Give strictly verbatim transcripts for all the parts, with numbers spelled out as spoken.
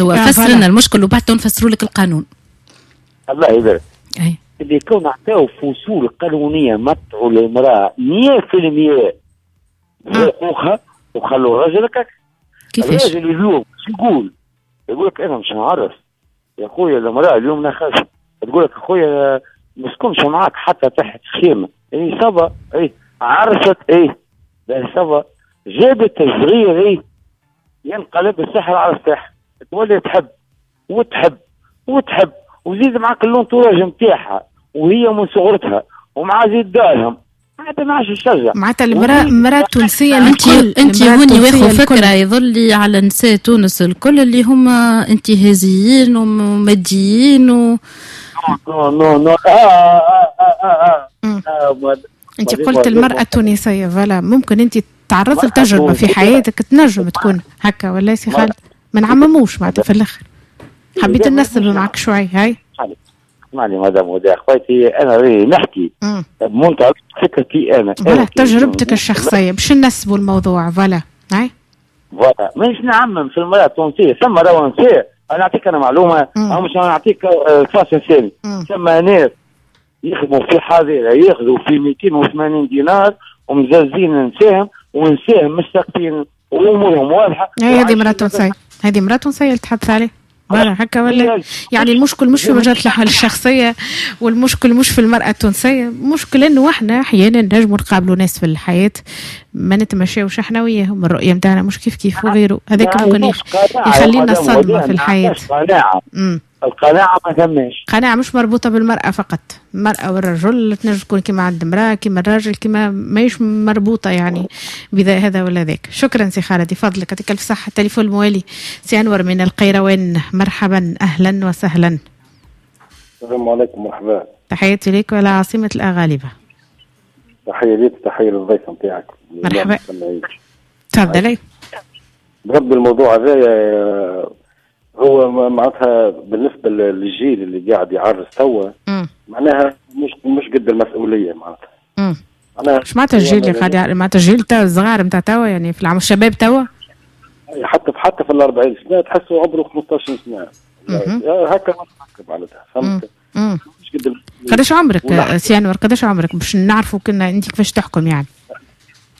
هو فسر لنا المشكل وبعد نفسروا لك القانون. الله يبارك. اللي كون عطاو فصول قانونية متعوا للمراة مية في المية حقوقها وخلوا الراجل هكاك. كيفاش؟ الراجل اليوم شو يقول؟ يقول لك انا مش نعرف يا خويا المراة اليوم نخاف، تقول لك خويا ما نسكنش معاك حتى تحت خيمة، اي ça va، اي عرست، اي ça va، جابت الصغير، اي ينقلب السحر على السحر، تولي تحب وتحب وتحب وزيد معاك l'entourage نتاعها وهي من صغرتها ومع زيد دارهم معناتها ما عادش يشجع. معناتها المراة المراة التونسية انت انت هوني واخو فكرة يظل على نساء تونس الكل اللي هما انتهازيين وماديين و non non non اه اه اه اه, آه. انت قلت المراة التونسية voilà، ممكن انت تعرضت لتجربة في حياتك تنجم تكون هكا ولا سي خالد؟ ما نعمموش معناتها في الاخر. حبيت ننسب معك شوي. هاي اسمعني مدام هدى اخواتي، انا راني نحكي بمنطلق فكرتي انا، voilà تجربتك الشخصية باش ننسبوا الموضوع. voilà هاي voilà مانيش نعمم في المراة التونسية. ثم راهو نساء، انا نعطيك انا معلومة او مش نعطيك فاصل ثاني، ثم ناس يخدموا في حظيرة ياخذوا في مئتين وثمانين دينار ومزازين نساهم ونساهم مستقبلين وامورهم واضحة. هذه مراة تونسية، هذه مراة تونسية اللي تحدث عليه voilà هكا ولا؟ يعني المشكل مش في مجال الاحوال الشخصية، والمشكل مش في المراة التونسية، المشكل انه احنا احيانا نجموا نقابلوا ناس في الحياة ما نتمشاوش احنا وياهم، الرؤية نتاعنا مش كيف كيف وغيره، هذاك ممكن يخلينا صدمة في الحياة. قناعة، القناعة ما ثماش قناعة، مش مربوطة بالمراة فقط، المراة والرجل تنجم تكون كما عند المراة كما الراجل، كما ماهيش مربوطة يعني بذا هذا ولا ذاك. شكرا سي خالد، فضلك يعطيك الف صحة. التليفون الموالي سي انور من القيروان، مرحبا اهلا وسهلا. السلام عليكم، مرحبا. تحياتي لك ولا عاصمة الاغالبه. تحية لك، تحية للضيف نتاعك. مرحبا، تفضلي. بربي الموضوع هذا هو معناتها بالنسبة للجيل اللي قاعد يعرس توا معناها مش مش قد المسؤولية معناتها. معناها اش معناتها الجيل اللي قاعد معناتها الجيل تاع الصغار نتاع توا، يعني في العام الشباب توا حتى حتى في الأربعين سنة تحسوا عمره خمسطاش سنة هكا معناتها، فهمت؟ مش قد. قداش عمرك سي انور؟ قداش عمرك باش نعرفوا كنا انت كيفاش تحكم يعني؟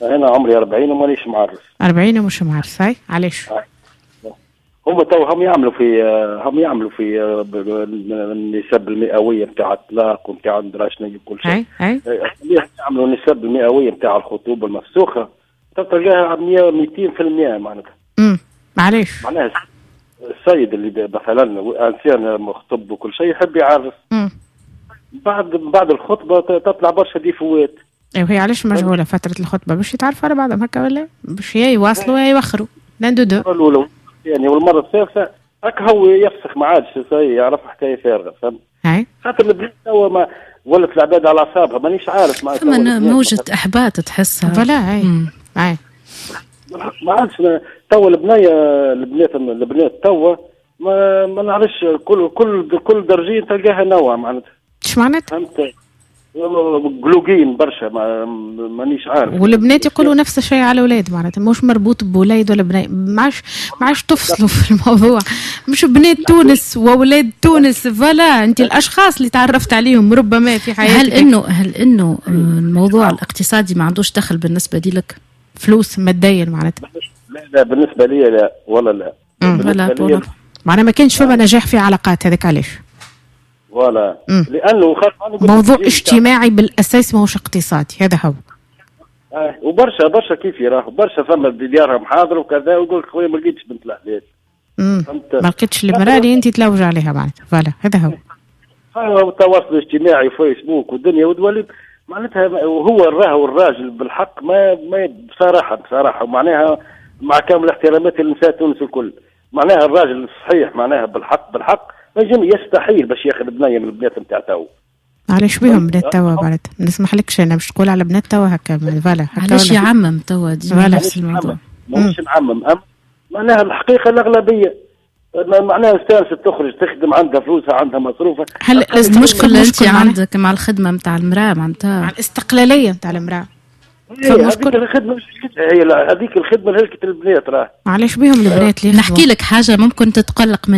انا عمري أربعين ومانيش معرس. أربعين ومش معرس، هاي علاش؟ هم تو هم يعملوا في هم يعملوا في النسب المئويه نتاع الطلاق ونتاع ندرا شنو كل شيء. اي يعملوا النسب المئويه نتاع الخطوبة المفسوخه تلقاها مية مئتين في المية معناتها. امم معليش. معناها السيد اللي مثلا انسان مخطب وكل شيء يحب يعرس. امم بعد بعد الخطبة تطلع برشا défauts. ايوا هي علاش مجهولة فترة الخطبة باش يتعرفوا على بعضهم هكا ولا باش يا يواصلوا يا يوخروا l'un des deux. يعني والمرة الثالثة هكا هو يفسخ ما عادش يعرف حكاية فارغة، فهمت؟ خاطر البنات توا ما ولت العباد على اعصابها، مانيش عارف معناتها ثم موجة احباط تحسها. voilà اي اي ما عادش توا البنية البنات البنات توا ما ما نعرفش كل كل كل درجين تلقاها نوع معناتها. اش معناتها؟ فهمت؟ قلوقين برشا ما مانيش عارف. والبنات يقولوا نفس الشيء على الاولاد معناتها مش مربوط بولاد ولا بنات، ما عادش ما عادش تفصلوا في الموضوع، مش بنات تونس واولاد تونس. voilà انت الاشخاص اللي تعرفت عليهم ربما في حياتك. هل انه هل انه الموضوع الاقتصادي ما عندوش دخل بالنسبة لك؟ فلوس ماديا معناتها؟ لا لا بالنسبة لي لا والله لا. لا معناها ما كانش فما نجاح في علاقات، هذاك علاش. voilà لانه موضوع اجتماعي بالاساس ماهوش اقتصادي، هذا هو. آه وبرشا برشا كيف يراه برشا فما ديارهم حاضر وكذا ويقول لك خويا ما لقيتش بنت الحلال. ما لقيتش المراة اللي انت تلوج عليها معناتها. voilà هذا هو. هو التواصل الاجتماعي وفيسبوك والدنيا وتولي معناتها وهو الراهو الراجل بالحق ما ما بصراحة بصراحة معناها مع كامل احتراماتي لنساء تونس الكل، معناها الراجل الصحيح معناها بالحق بالحق ما يستحيل باش ياخذ بنيه من البنات نتاع تو. علاش بيهم بنات توا بعد؟ ما نسمحلكش انا باش تقول على بنات توا هكا voilà. علاش يعمم توا ديما نفس الموضوع؟ ماهوش نعمم، معناها الحقيقة الاغلبية معناها استانست تخرج تخدم عندها فلوسها عندها مصروفها. هل المشكلة انت عندك مع الخدمة نتاع المراة معناتها؟ مع الاستقلالية نتاع المراة. إيه، هذيك الخدمة هي، هذيك الخدمة هلكت البنات راه. علاش بيهم البنات؟ اللي نحكي لك حاجة ممكن تتقلق.